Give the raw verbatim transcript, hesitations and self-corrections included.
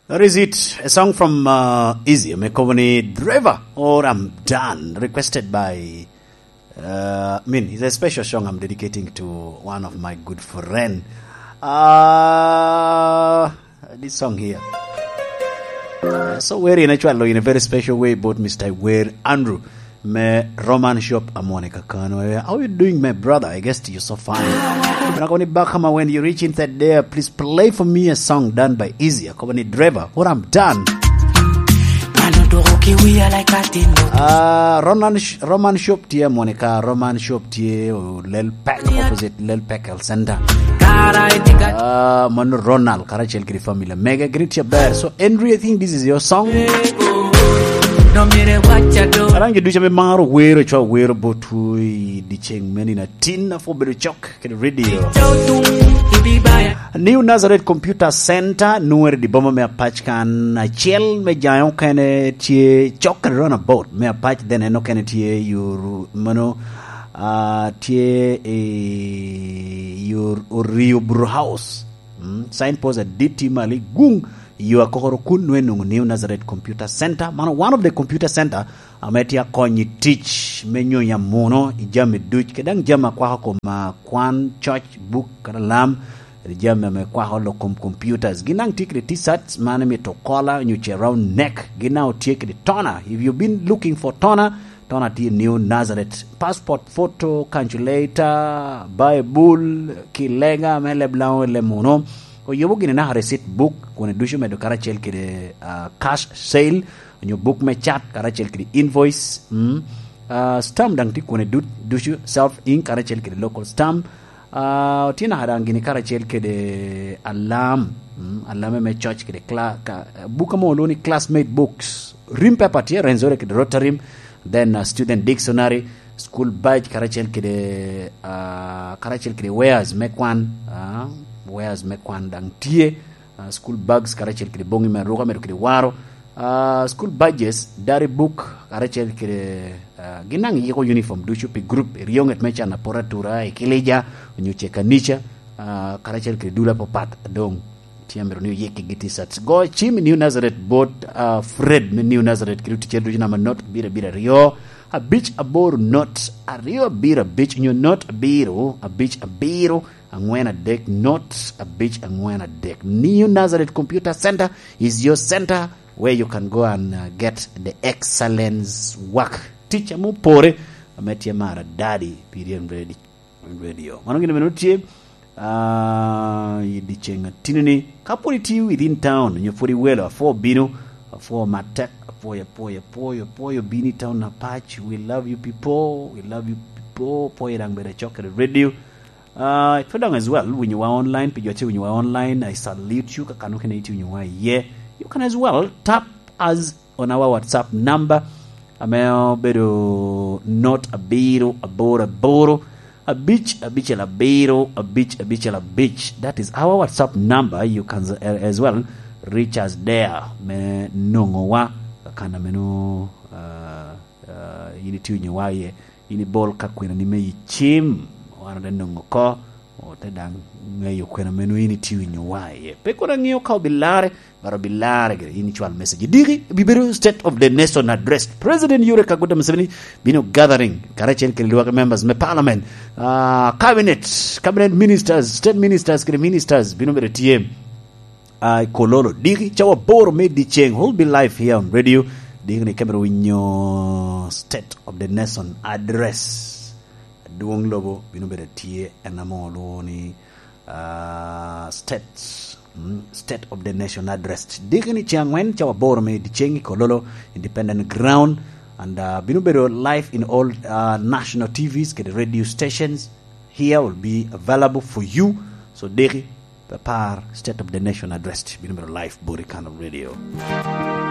That is it. A song from uh, Easy, me company Driver, or I'm Done, requested by, uh, I mean, it's a special song I'm dedicating to one of my good friend. Uh, this song here. Uh, so we're in a, in a very special way, both Mister Iwer Andrew. Me Roman Shop, Amone Kakano. Eh, how you doing, my brother? I guess you're so fine. When I go back home, when you reach inside there, please play for me a song done by Easy. I come on driver. What I'm done. Ah, Roman Sh-, Roman Shop tie Monica, Roman Shop tie, oh, Lel Pack, opposite Lel Pack Health Center. Ah, mano Ronald, karacel kede family. Mega greet your bear. So, Henry, I think this is your song. Araŋ jo ducu ame maro wero, cwa wero botwu i dyeceŋ meni na tin, a pwod bedo cok kede radio. New Nazareth Computer Center, nwere di boma me Apac kan, acel me jaŋe okene tye cok kede roundabout me Apac, then en okene tye your, mano, ah, tye i your Orio Brew House. Mm, signpost adit tye malo i guŋ yo akokoro kun nwe nwoŋo New Nazareth Computer Center. Mano one of the computer center ame tye akony i tic me nyonyo amuno i jami duc, kede daŋ jami akwako kom, ah, kwan, coc, buk, kadi lam, kede jami ame kwako lok kom computers. Gin daŋ tye kede T-shirts, mano imito kola, onyo ce round neck. Gin daŋ otye kede toner. If you've been looking for toner, Tona tye New Nazareth. Passport photo, calculator, Bible, ki lega me leb Laŋo i leb muno. Oyubo gini naka receipt book, kun ducu medo karacel kede, ah, cash sale, onyo buk me cat, karacel kede invoice, mm. Ah, stamp daŋ tye kun dut-, ducu self ink, karacel kede local stamp. Ah, tye naka daŋ gini karacel kede alam, mm, alam me coc kede cla-, ka, buk ame olwongo ni classmate books. Rim paper tye, Rwenzori kede Rotarim, then, uh, student dictionary, school badge, karacel kede, uh, karacel kede wares me kwan, uh, wares me kwan daŋ tye, uh, school bags, karacel kede boŋi me aruka, medo kede waro, uh, school badges, diary book, karacel kede, uh, gin daŋ yiko uniform ducu pi group, iryo ŋet me can apor atura, ekilija, onyo ce kanica, uh, karacel kede dul apapat, doŋ tye amito ni oyik kigi T-shirts. Go cim i New Nazareth bot, ah, Fred me New Nazareth, kede oticere ducu namba not abiro abiro aryo, abic aboro not aryo abiro abic, onyo not abiro abic abiro aŋwen adek, not abic aŋwen adek. New Nazareth Computer Center is your center where you can go and, uh, get the excellence work. Tic ame opore, ame tye mar adadi, pi ryem redi. Radio. Mano gin bene tye, ah, i dyeceŋ atinini. Ka pwod itye within town, onyo pwod iwelo, apwo bino, apwo matek, apwoyo, apwoyo, apwoyo, apwoyo bino i town Apac. We love you people, we love you people. Apwoyo daŋ bedo acok kede radio. Ah, ipwod daŋ as well, winyowa online, pi jo tye winyowa online, I salute you, kakano kene itye winyowa iye. You can as well tap as on our WhatsApp number, ame obedo not abiro aboro aboro, abic abicel abiro, abic abicel abic. That is our WhatsApp number. You can, uh, as well reach us there. Me nongowa, kan ameno, uh, uh, in itye winyowa iye. In ibol ka kwena ni me icim, wan ote nongo oko, ote daŋ ŋeyo kwena meno in itye winyowa iye. Pe kono aŋeo ka obilarre, but obilarre gire, in icwal message. Diki, bibedo State of the Nation Address. President Yoweri Kaguta Museveni bino gathering, karacel kede lwak members me parliament, ah, cabinet, cabinet ministers, state ministers, kede ministers, bino bedo tye. Ah, i Kololo, diki, cawa aboro me dyeceŋ, will be live here on radio. Diki ni kemere winyo State of the Nation Address. Adwoŋ lobo bino bedo tye, en ame olwongo ni, ah, State, mm, State of the Nation Address. Diki ni ceŋ aŋwen, cawa aboro me dyeceŋ i Kololo, Independent Ground. And, ah, bino bedo live in all, ah, national T Vs kede radio stations. Here will be available for you. So, diki, Apar, State of the Nation Address, bino bedo live bot i Kano Radio.